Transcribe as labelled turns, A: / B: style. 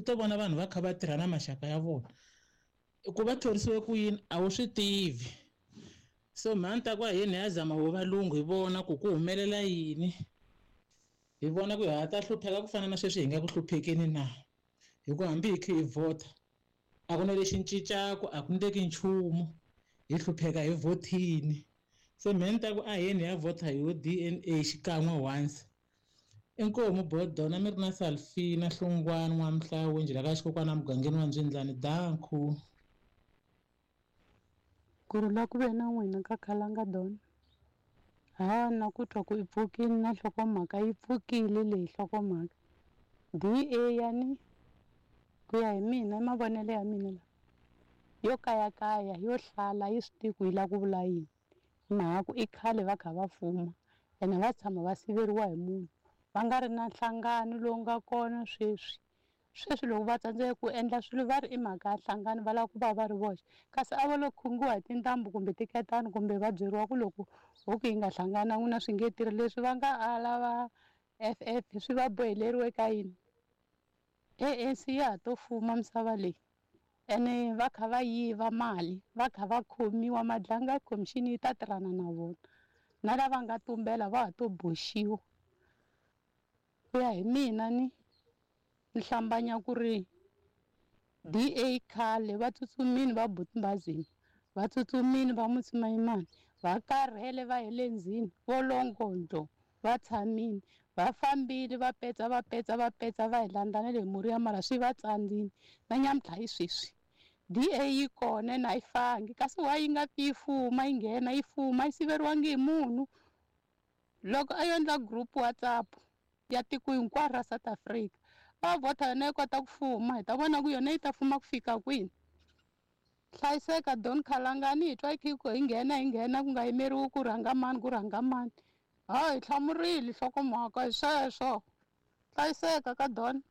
A: to vona vanhu va kha va tirha na maxaka ya vona. Ku va thorisiwe ku yini a wu swi tivi. So mhani ta ku aheni hi ya zama wo valungu hi vona ku ku humelela yini. Hi vona ku ha ta hlupheka ku fana na sweswi hi nga ku hluphekeni na. Hi ku hambi hi kha hi vhota a ku na lexi cincaku a ku ndleki nchumu hi hlupheka hi vhotini. Se mhe ni ta ku aheni hi ya vhota hi yo D_N_A xikan'we once. Inkomu Bodona mi ri na Salfina Hlungwani N'wamhlawu njhela ka xikokwana mugangeni wa Ndzwindlani danku.
B: Ku rhula ku ve na n'wina ka Khalanga Don. Ha na ku twa ku i pfukile na nhlokomhaka yi pfukile leyi nhlokomhaka. D_A yani ku ya hi mina i mavonelo ya mina lawa yo kayakaya yo hlala yi swi tivi ku yi lava ku vula yini. Hi mhaka ku i khale va kha va fuma ene va tshama va siveriwa hi munhu va nga ri na nhlangano lowu nga kona sweswi. Sweswi loko va tsandzeka ku endla swilo va ri i mhaka ya nhlangano va lava ku va va ri voxe kasi a va lo khungiwa hi tintambu kumbe tiketani kumbe va byeriwa ku loko ho ku yi nga hlangana n'wina swi nge tirhi leswi va nga ala va F_F swi va boheleriwe ka yini. A_N_C ya ha to fuma misava leyi ene va kha va yiva mali va kha va khomiwa Madlanga Commission yi ta tirhana na vona na lava nga tumbela va ha to boxiwa. Ku ya hi mina ni ni hlambanya ku ri D_A khale va tsutsumile va Buti va tsutsumile va Motshwamayimani va karhele va hele ndzhini vo Longondlo va tshamile va fambile va petsa va petsa va petsa va hi landza na le Moriya mara swi va tsandzile na nyamuntlha hi sweswi D_A yi kona ene a yi fangi kasi why yi nga pfi yi fuma yi nghena yi fuma yi siveriwangi hi munhu. Loko a yo endla group WhatsApp ya tiko hinkwaro ra South Africa va vhota yona yi kota ku fuma hi ta vona ku yona yi ta fuma ku fika kwini. Hlayiseka Don Khalangani hi twa hi kha hi nghena hi nghena ku nga yimeriwi ku rhanga mani ku rhanga mani. Ha hi hlamurile nhlokomhaka hi sweswo. Hlayiseka ka Don.